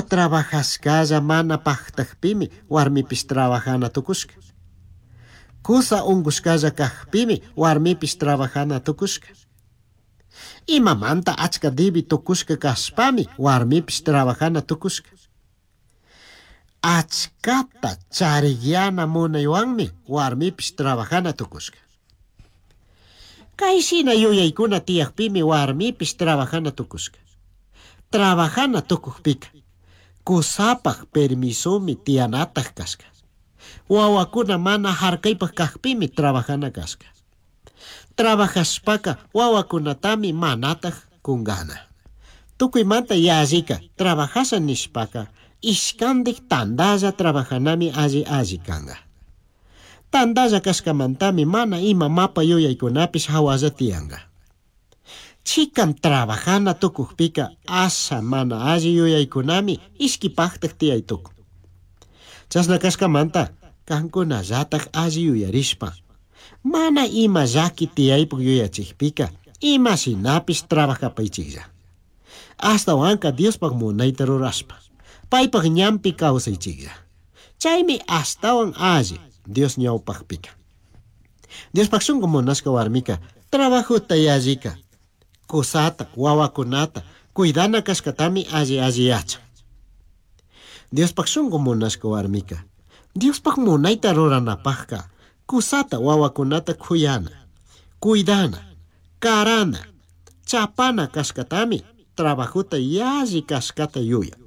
Trabajashcalla mana pajtajpimi warmipish trabajana tucushca. Cusa ungushcalla cajpimi warmipish trabajana tucushca. Imamanta achca dibi tucushca cashpami warmipish trabajana tucushca. Achcata charigyana munaywanmi warmipish trabajana tucushca. Kay shina yuyaykuna tiyakpimi warmipish trabajana tucushca. Trabajana tukukpika kusapaj permisomi tiyanataj kashka. Wawakuna mana harkaypaj kakpimi trabajana kashka. Trabajashpaka wawakunatami manataj kungana. Tukuymanta yallika trabajasha nishpaka ishkandik tandalla trabajanami alli alli kanga. Tandalla kashkamantami mana ima mapa yuyaykunapish hawalla tiyanga. Chikan trabajana tukukpika asha mana alli yuyaykunami ishkipaktak tiyay tukun. Chashna kashkamanta kankunallatak alli yuyarishpa mana ima llaki tiyaypuk yuyachikpika ima shinapish trabajapaychiklla. Ashtawanka Diospaj munayta rurashpa paypaj ñanpi kawsaychiklla. Chaymi ashtawan alli Dios ñawpakpika. Diospaj shunku munashka warmika trabajota yallika kusata wawakunata cuidana kashkatami alli alli yachan. Diospaj shunku munashka warmika Diospaj munayta ruranapajka kusata wawakunata kuyana, cuidana, karana, chapana kashkatami trabajota yalli kashkata yuyan.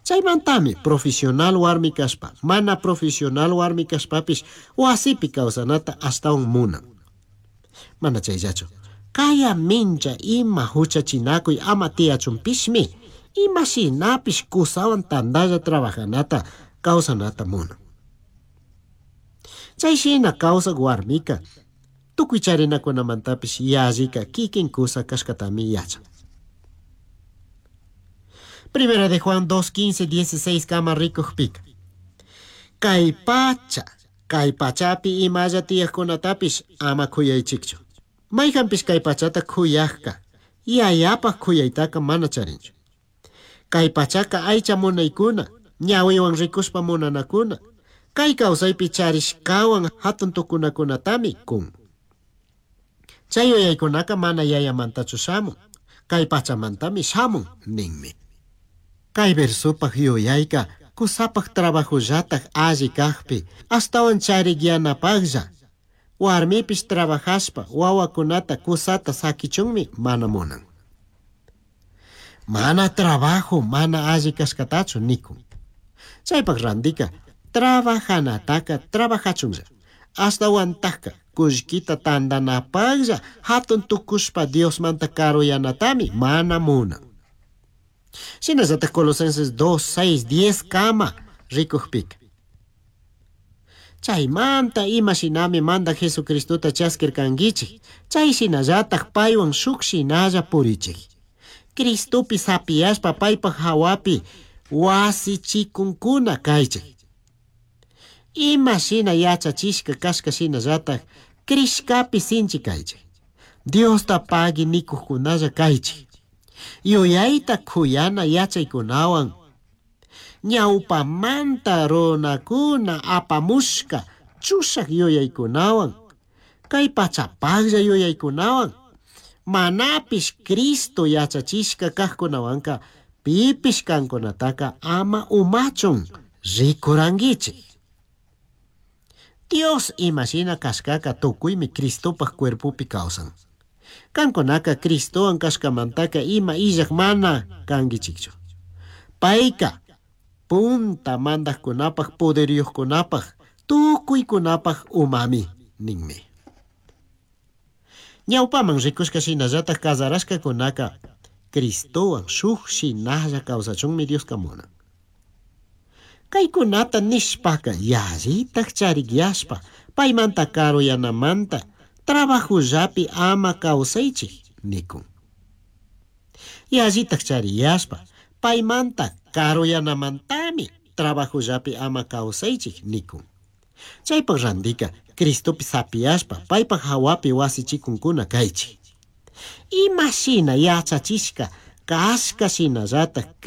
Chaymantami profesional warmi kashpa, mana profesional warmi kashpapish wasipi kawsanata ashtawan munan. Mana chayllachu, kaya mincha ima huchachinakuy ama tiyachunpishmi ima shinapish kusawan tandalla trabajanata kawsanata munan. Chay shina kawsak warmika tukuy charinakunamantapish yallika kikin kusa kashkatami yachan. Primera de Juan 2, 15, 16 kama rikukpika. Kay pacha, kay pachapi imalla tiyakkunatapish ama kuyaychikchu. Mayqanpish kay pachata kuyaqka, yayapaj kuyaytaka mana charinchu. Kay pachaka aycha munaykuna, ñawiwan rikushpa munanakuna, kay kawsaypi charishkawan hatun tukunakunatami kun. Chay yuyaykunaka mana yayamantachu shamun, kay pachamantami shamun ninmi. Kay versopaj yuyayka kusapaj trabajollataj alli kajpi, ashtawan charikyanapajlla. Warmipish trabajashpa wawakunata kusata sakichunmi mana munan. Mana trabajo mana alli kashkatachu nikun. Chaypaj randika trabajanataka trabajachunlla. Ashtawantajka kullkita tandanapajlla hatun tukushpa Diosmanta karuyanatami mana munan. Shinallataj Colosenses 2, 6, 10 kama rikukpika. Chaymanta ima shinami mandak Jesucristota chaskirkankichik, chay shinallataj paywan shuk shinalla purichik. Cristopi sapiyashpa paypaj hawapi wasichikunkuna kaychik. Ima shina yachachishka kashka shinallataj crishkapi sinchi kaychik. Diosta pagui nikuqkunalla kaychik. Yuyayta kuyana yachaykunawan ñawpamanta runakuna apamushka chushak yuyaykunawan kay pachapaqlla yuyaykunawan manapish Cristo yachachishka kaqkunawanka pipish kankunataka ama umachun rikurankichik. Dios imashina kashkaka tukuymi Cristopaj cuerpopi kawsan. Kankunaka Cristowan kashkamantaka ima illak mana kankichikchu. Payka punta mandaqkunapaj poderyuqkunapaj tukuykunapaj umami ninmi. Ñawpaman rikushka shinallataj casarashkakunaka Cristowan shuk shinalla kawsachunmi Dioska munan. Kaykunata nishpaka yallitaj charikyashpa paymanta karuyanamanta trabajollapi ama kawsaychik nikun. Yallitaj chariyashpa paymanta karuyanamantami trabajollapi ama kawsaychik nikun. Chaypaj randika Cristopi sapiyashpa paypaj hawapi wasichikunkuna kaychik. Ima shina yachachishka Cashca shinallataj.